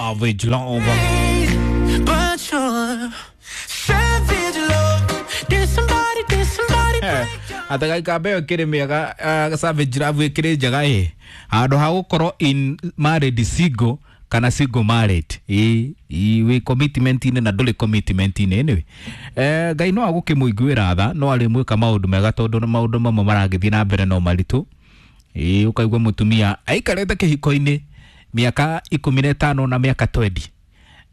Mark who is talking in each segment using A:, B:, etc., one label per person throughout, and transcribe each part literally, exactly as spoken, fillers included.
A: Savage Love.
B: But you're savage love. Did somebody, did somebody break your
A: Atagaika mbeo ĩkĩrĩ mĩega, uh, Savage Love ĩkĩrĩ njega ĩ handũ ha gũkorwo in married single kana single married, ĩ ĩ wĩ commitment-inĩ na ndũrĩ commitment-inĩ. Anyway, eh, Ngai no agũkĩmũiguĩra tha, no arĩmwĩka maũndũ mega tondũ maũndũ mamwe maragĩthiĩ na mbere no maritũ. Ĩ ũkaigua mũtumia aikarĩte kĩhiko-inĩ mĩaka ikũmi na ĩtano na mĩaka twenty,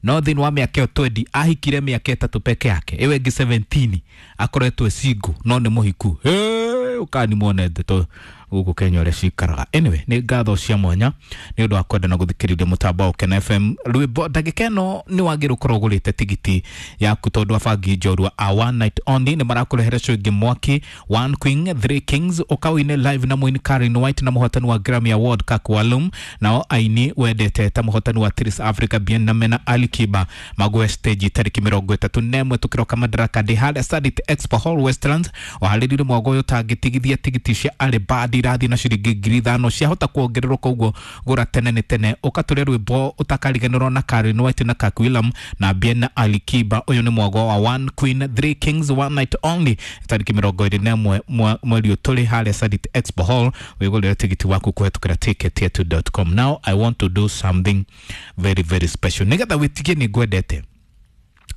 A: no thĩinĩ wa mĩaka ĩyo twenty ahikire mĩaka ĩtatũ peke yake, ĩyo ĩngĩ seventeen akoretwo e single no nĩ mũhiku. Hey, ũkani muone ndeto gũkũ Kenya ũrĩa cikaraga. Anyway, nĩ ngatho cia mwanya nĩ ũndũ wa kwenda na gũthikĩrĩria mũtambo wa Ũkena F M. Rwĩmbo ndagĩka ĩno nĩ wagĩrĩirwo ũkorwo ũgũrĩte tigiti yaku tondũ abangi njorua a one night only nĩ marakũrehera show ĩngĩ mwaki, One Queen Three Kings, ũkawine live na mũini Karen White na mũhotani wa Grammy Award Kak Walum, nao aini wendete ta mũhotani wa Tris Africa Bien na Mena Ali Kiba magwe stage tarĩki mĩrongo ĩtatũ na ĩmwe tũkĩroka Madaraka Day harĩa Sarit Expo Hall, Westlands. Waharĩrire mwago ũyũ ũtangĩtigithia. Tigiti cia early bird irathiĩ na ciringi ngiri ithano, ciahota kuongererwo, koguo gũra tene nĩ tene ũkatũre rwĩmbo ũtakariganĩrwo na Karen White na Kak William na Bien na Ali Kiba. Ũyũ nĩ mwago wa One Queen Three Kings, one night only, tarĩki mĩrongo ĩrĩ na ĩmwe mwa- mweri ũyũ tũrĩ harĩa Sarit Expo Hall. Wĩgũrĩre tigiti waku kũhetũkĩra ticketyetu dot com. Now I want to do something very very special nĩgetha wĩtigie nĩ ngwendete,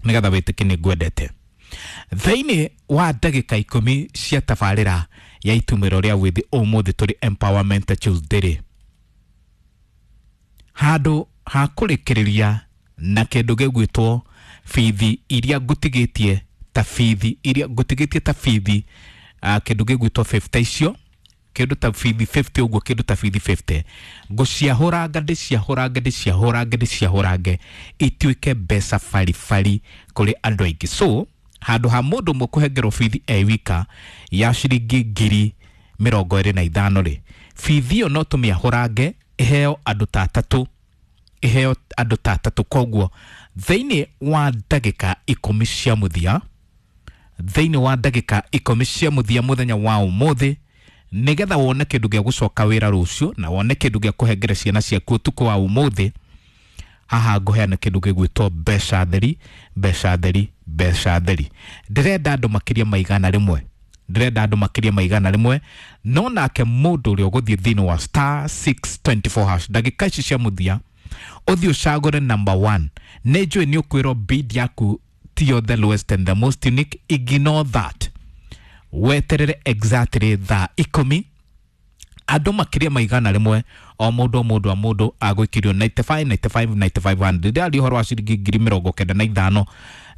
A: nĩgetha wĩtĩkie nĩ ngwendete. Thĩinĩ wa ndagĩka ikũmi cia tabarĩra ya itumĩro rĩa wĩthĩ ũmũthĩ tũrĩ Empowerment Tuesday rĩ, handũ ha kũrĩkĩrĩria na kĩndũ gĩgwĩtwo bithi iria ngũtigĩtie ta bithi iria ngũtigĩtie ta bithi, uh, kĩndũ gĩgwĩtwo fifty icio, kĩndũ ta bithi fifty ũguo, kĩndũ ta bithi fifty ngũciahũranga, ndĩciahũrange, ndĩciahũrange, ndĩciahũrange ituĩke mbeca baribari kũrĩ andũ aingĩ. So handũ ha mũndũ ũmwe kũhengerwo bithi e wika ya ciringi ngiri mĩrongo ĩrĩ na ithano rĩ, bithi ĩyo no tũmĩahũrange ĩheo andũ ta atatũ, ĩheo andũ ta atatũ. Koguo thĩinĩ wa ndagĩka ikũmi cia mũthia, thĩinĩ wa ndagĩka ikũmi cia mũthia mũthenya wa ũmũthĩ, nĩgetha wone kĩndũ gĩa gũcoka wĩra rũciũ na wone kĩndũ gĩa kũhengere ciana ciaku ũtukũ wa ũmũthĩ, haha ngũheana kĩndũ gĩgwĩtwo mbeca theri, mbeca theri, mbeca theri. Ndĩrenda andũ makĩria ma igana rĩmwe, ndĩrenda andũ makĩria ma igana rĩmwe. No nake mũndũ ũrĩa ũgũthiĩ thĩinĩ wa star six two four hash ndagĩka ici cia mũthia, ũthiĩ ũcagũre number one. Nĩ njũĩ nĩ ũkwĩrwo bid yaku tiyo the lowest and the most unique. Ignore that, weterere exactly thaa ikũmi. Andũ makĩria ma igana rĩmwe, o mũndũ o mũndũ o mũndũ agũikĩrio ninety-five ninety-five ninety-five hundred. Ndĩraria ũhoro wa ciringi ngiri mĩrongo kenda na ithano,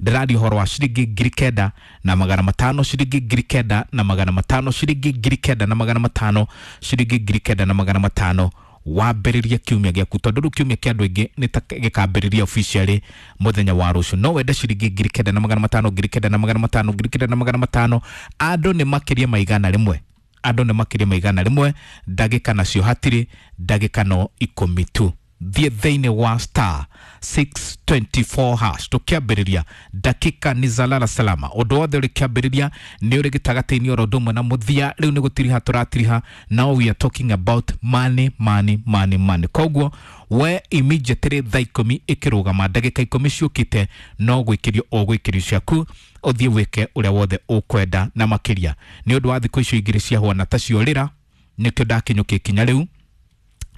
A: ndĩraria ũhoro wa ciringi ngiri kenda na magana matano, ciringi ngiri kenda na magana matano, ciringi ngiri kenda na magana matano, ciringi ngiri kenda na magana matano. Wambĩrĩrie kiumia gĩaku tondũ rĩu kiumia kĩa andũ aingĩ nĩ ta gĩkambĩrĩria officially mũthenya wa rũciũ. No wende ciringi ngiri kenda na magana matano, ngiri kenda na magana matano, ngiri kenda na magana matano. Andũ nĩ makĩria ma igana rĩmwe, andũ nĩ makĩria ma igana rĩmwe. Ndagĩka nacio hatirĩ, ndagĩka no ikũmi tu. Thiĩ thĩinĩ wa star six two four hash. Tũkĩambĩrĩria dakika ni za lala salama. Ũndũ wothe ũrĩ kĩambĩrĩria nĩ ũrĩ gĩtagatĩ-inĩ oro ũndũ ũmwe na mũthia. Rĩu nĩ gũtiriha tũratiriha. Now we are talking about money, money, money, money. Koguo we immediately thaa ikũmi ĩkĩrũgama, ndagĩka ikũmi ciũkĩte, no gwĩkĩrio ũgwĩkĩrio ciaku, ũthiĩ wĩke ũrĩa wothe ũkwenda. Na makĩria nĩ ũndũ wa thikũ icio igĩrĩ ciahwana ta ciorĩra, nĩkĩo ndakinyũkia ikinya rĩu,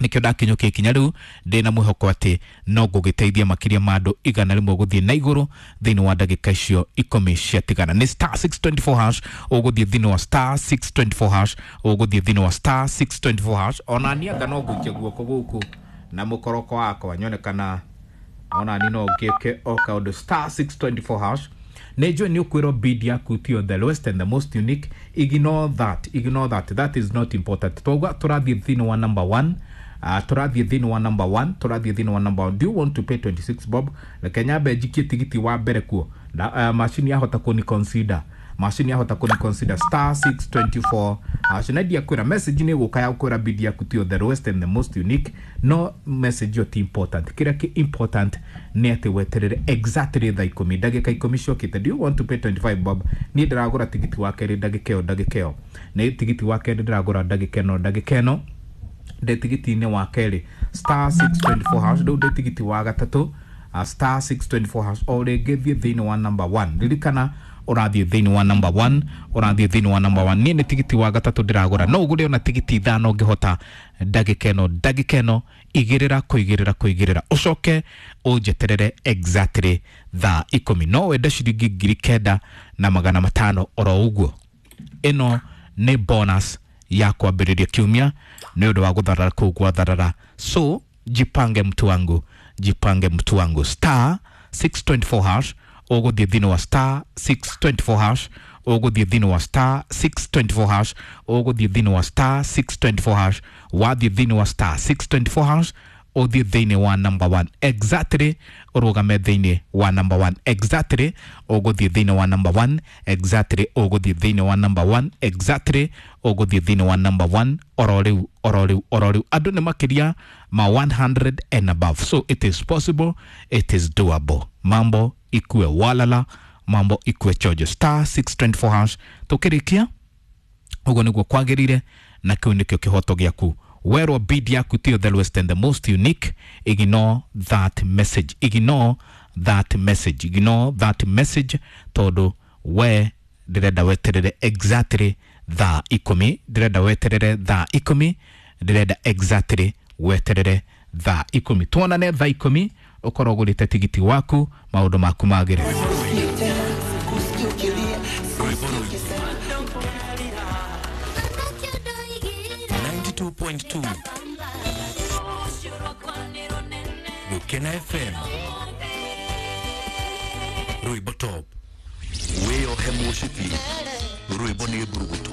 A: nĩkĩo ndakinyũkia ikinya rĩu ndĩna mwĩhoko atĩ no ngũgĩteithia makĩria ma andũ igana rĩmwe gũthiĩ na igũrũ thĩinĩ wa ndagĩka icio ikũmi ciatigana. Nĩ star six two four hash, ũgũthiĩ thĩinĩ wa star six two four hash, ũgũthiĩ thĩinĩ wa star six two four hash. Ona niĩ anga no ngũikie guoko gũkũ na mũkoroko wakwa nyone kana ona ni no ngĩke o kaũndũ. Star six two four hash. Nĩ njũĩ nĩ ũkwĩrwo bid yaku tiyo the lowest and the most unique. Ignore that, ignore that, that is not important. Twauga tũrathiĩ thĩinĩ wa number one, uh, tũrathiĩ thĩinĩ wa number one, tũrathiĩ thĩinĩ wa number one. Do you want to pay twenty-six bob? Reke nyambe njikie tigiti wa mbere kuo na uh, macini yahota kũni consider, macini yahota kũni consider. Star six two four hash. Na ndia kwĩra message nĩ gũka ya kwĩra bid yaku tiyo the lowest and the most unique, no message ĩyo ti important. Kĩrĩa kĩ important nĩ atĩ weterere exactly thaa ikũmi, ndagĩka ikũmi ciokĩte. Do you want to pay twenty-five bob? Niĩ ndĩragũra tigiti wa kerĩ ndagĩka ĩyo, ndagĩka ĩyo nĩ tigiti wa kerĩ ndĩragũra ndagĩka ĩno, ndagĩka ĩno. Ndĩ tigiti-inĩ wa kerĩ, star six twenty four hash. Rĩu ndĩ tigiti wa gatatũ, uh, star six twenty four hash. O rĩngĩ thiĩ thĩinĩ wa number one. Ririkana ũrathiĩ thĩinĩ wa number one, ũrathiĩ thĩinĩ wa number one. Niĩ nĩ tigiti wa gatatũ ndĩragũra, no ũgũre ona tigiti ithano ũngĩhota ndagĩka ĩno, ndagĩka ĩno igĩrĩra kũigĩrĩra kũigĩrĩra, ũcoke ũnjeterere exactly thaa ikũmi. No wende ciringi ngiri kenda na magana matano oro ũguo. Ĩno nĩ bonus ya kwambĩrĩria kiumia nĩ ũndũ wa gũtharara kũu gwatharara. So jipange mtu wangu, jipange mtu wangu, star six twenty four hash. Ũgũthiĩ thĩinĩ wa star six twenty four hash, ũgũthiĩ thĩinĩ wa star six twenty four hash, ũgũthiĩ thĩinĩ wa star six twenty four hash. Wathiĩ thĩinĩ wa star six twenty four hash, ũthiĩ thĩinĩ wa number one exactly, ũrũgame thĩinĩ wa number one exactly, ũgũthiĩ thĩinĩ wa number one exactly, ũgũthiĩ thĩinĩ wa number one exactly, ũgũthiĩ thĩinĩ wa number one oro rĩu, oro rĩu, oro rĩu. Andũ nĩ makĩria ma one hundred and above, so it is possible, it is doable. Mambo ikue walala, mambo ikue chojo. Star six twenty four hash. Tũkĩrĩkia ũguo nĩguo kwagĩrĩire, na kĩu nĩkĩo kĩhoto gĩaku. Werwo bid yaku tiyo the lowest and the most unique, ignore that message, ignore that message, ignore that message, tondũ we ndĩrenda weterere exactly thaa ikũmi, ndĩrenda weterere thaa ikũmi, ndĩrenda exactly weterere thaa ikũmi. Tuonane thaa ikũmi, ũkorwo ũgũrĩte tigiti waku, maũndũ maku magĩre.
C: Ninety-two point two Gukena F M Rwimbo Top. Wĩyohe mũcibi, rwĩmbo nĩ mburuguto.